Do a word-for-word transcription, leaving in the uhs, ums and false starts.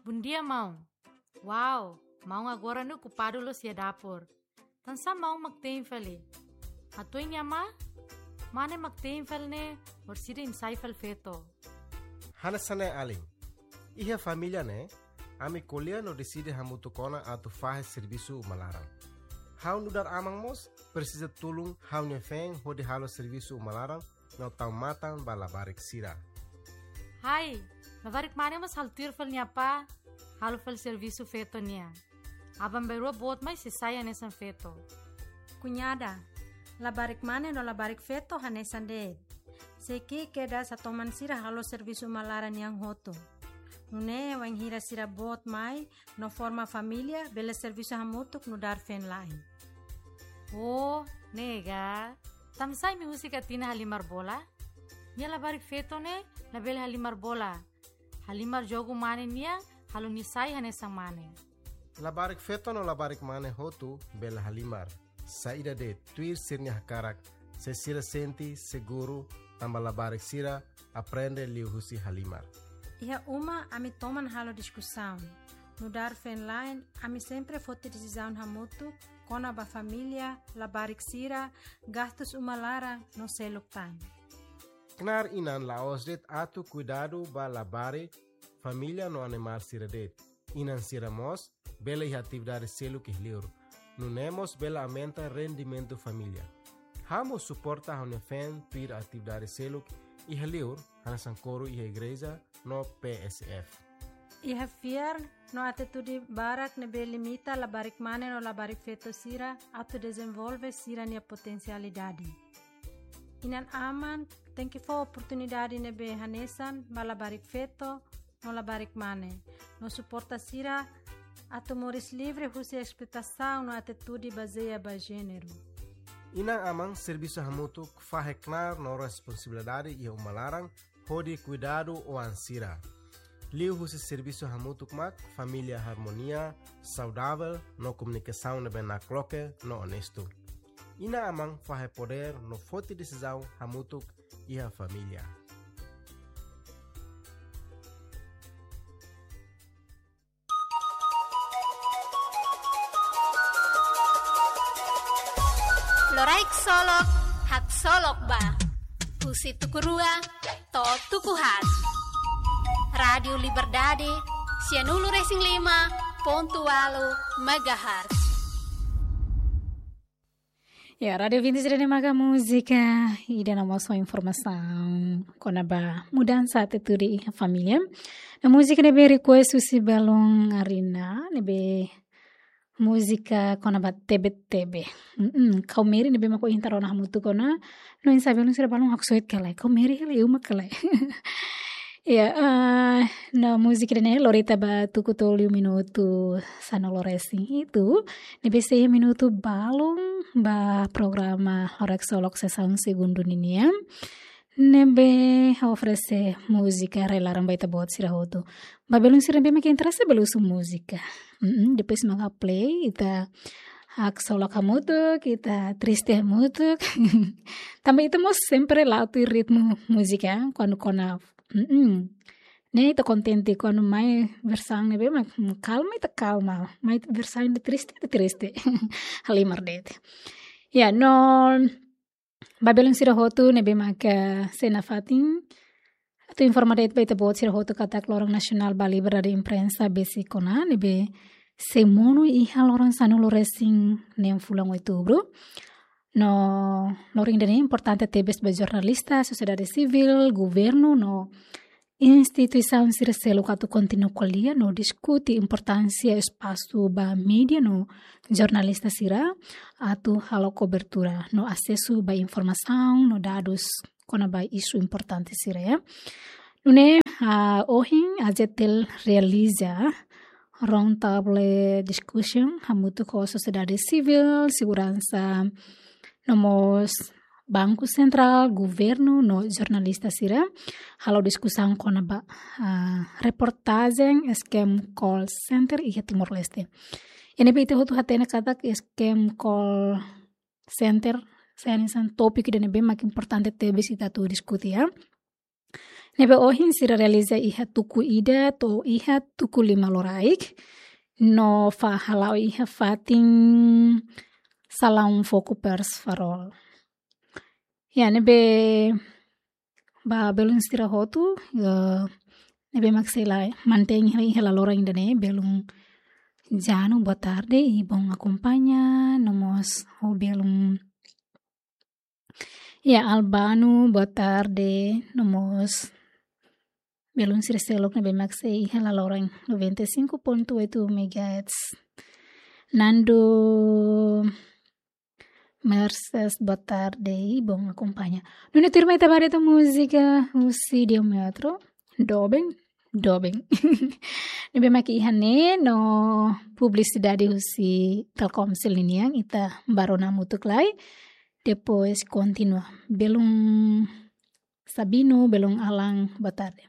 Bondia, maun. Wow, maun agora ne'e okupadu loos iha dapur. Tansá maun mak te'in fali? Hatudu nia mane, mane mak te'in fali ne'e, orsida imi sai fali feto. Hanesan ne'e alin. Iha família ne'e, ami ko'alia no deside hamutuk ona atu fahe servisu uma laran. Ha'u nu'udar aman mós presiza tulun ha'u-nia feen hodi halo servisu uma laran no tau matan ba labarik sira. Hai, labarik mane mós halo tuir fali nia apá, halo fali servisu feto nian. Aban-bainrua boot mai sei sai hanesan feto. Kuñada, labarik mane no labarik feto hanesan de'it. Sei ki'ik kedas hatoman sira halo servisu uma laran nian hotu. Nune'e wainhira sira boot mai no forma família, bele servisu hamutuk nu'udar feen-la'en. Oh, ne'e ka. Tansá imi husik Atina halimar bola? Nia labarik feto ne'e labele halimar bola. Halimar jogu mane nian, halo nia sai hanesan mane. Labarik feto no labarik mane hotu bele halimar. Saida de'it, tuir sira-nia hakarak, se sira sente seguru, tanba labarik sira aprende liuhusi halimar. Iha uma ami toman halo diskusaun. Nu'udar feen-la'en, ami sempre foti desizaun hamutuk kona-ba família, labarik sira, gastus uma laran no seluk tan. Knaar inan la'ós de'it atu kuidadu ba labarik, família no animál sira de'it. Inan sira mós bele iha atividade seluk iha liur. Nune'e mós bele aumenta rendimentu família. Ha'u mós suporta ha'u-nia feen tuir atividade seluk iha liur, hanesan koru iha igreja no P S F. Iha fiar no atitude barak ne'ebé limita labarik mane no labarik feto sira atu dezenvolve sira-nia potensialidade. Inan-aman tenke fó oportunidade ne'ebé hanesan ba labarik feto no labarik mane, no suporta sira atu moris livre husi esploitasaun no atitude bazeia ba jéneru. Inan-aman servisu hamutuk fahe knaar no responsabilidade iha uma laran hodi kuidadu oan sira. Liuhusi servisu hamutuk mak família harmonia, saudavel no komunikasaun ne'ebé nakloke no onestu. Inan-aman fahe podér no foti desizaun hamutuk iha família. Loraik Solok, haksolok ba. Husi tuku rua to'o tuku haat. Rádiu Liberdade, sianulu resin lima pontu ualu megahertz. Ya, Rádiu Vinti sira ne'e maka múzika ida no mós informasaun kona-ba mudansa atitude iha família. No múzika ne'ebé request husi balun Arina, ne'ebé múzika kona-ba tebe-tebe. Mm-mm, Kau Meri ne'ebé mak ohin ita rona hamutuk ona. No oinsá balun sira balun haksoit ka lae. Kau Meri hela uma ka lae. Ya, ah, no múzika ne'e lori ita ba tuku tolu minutu sanulu resin hitu. Ne'ebé sei iha minutu balun ba programa Loraik Solok sesaun segundu ninian. Ne'ebé oferese múzika rai-laran ba ita-boot sira hotu. Ba belun sira ne'ebé mak interese bele husu múzika. Mm-mm, depois maka play, ita haksolok hamutuk, ita triste hamutuk. Tanba ita mós sempre la'o tuir ritmu múzika, kuandu kona, mm-mm. Ne'e ita kontente kuandu mai versaun ne'ebé mak kalma, ita kalma. Mai versaun ida triste, ita triste. Halimar de'it. Ya, no, ba belun sira hotu ne'ebé maka sei nafatin, atu informa de'it ba ita-boot sira hotu katak Loron Nasionál ba Liberdade Imprensa besik ona, ne'ebé sei monu iha loron sanulu resin neen fulan Outubru. No loron ida-ne'e importante tebes ba jornalista, sosiedade sivíl, governu no instituisaun sira seluk atu kontinua ko'alia no diskute importánsia espasu ba média no jornalista sira atu halo kobertura no asesu ba informasaun no dadus kona-ba isu importante sira, ya. Nune'e, ah, ohin AJTL realiza round table discussion hamutuk ho sosiedade sivíl, seguransa, no mós Banku Sentrál, governu no jornalista sira halo diskusaun kona-ba, ah, reportajen scam call center iha Timor-Leste. Ne'ebé ita hotu hatene katak scam call center, hanesan tópiku ida ne'ebé mak importante tebes ita atu diskute, ya. Ne'ebé ohin sira realiza iha tuku ida to'o iha tuku lima loraik, no fa hala'o iha fatin Salaun Foku Pers Farol. Ya, ne'ebé ba belun sira hotu, eh, ne'ebé mak sei la mantein iha, iha laloran ida-ne'e, belun Janu, boa tarde, i bom akompaña, no mós ho belun, ya, Albano, boa tarde, no mós belun sira seluk ne'ebé mak sei iha laloran noventa e cinco ponto oito megahertz. Nando Mercedes, boa tarde, i bom akompaña. Nune'e tuirmai ita bá haree tan múzika husi Diâmetro, doben, doben. Ne'ebé mak iha ne'e no publisidade husi Telkomsel ninian, ita bá rona hamutuk lai. Depois kontinua. Belun Sabino, belun Alan, boa tarde.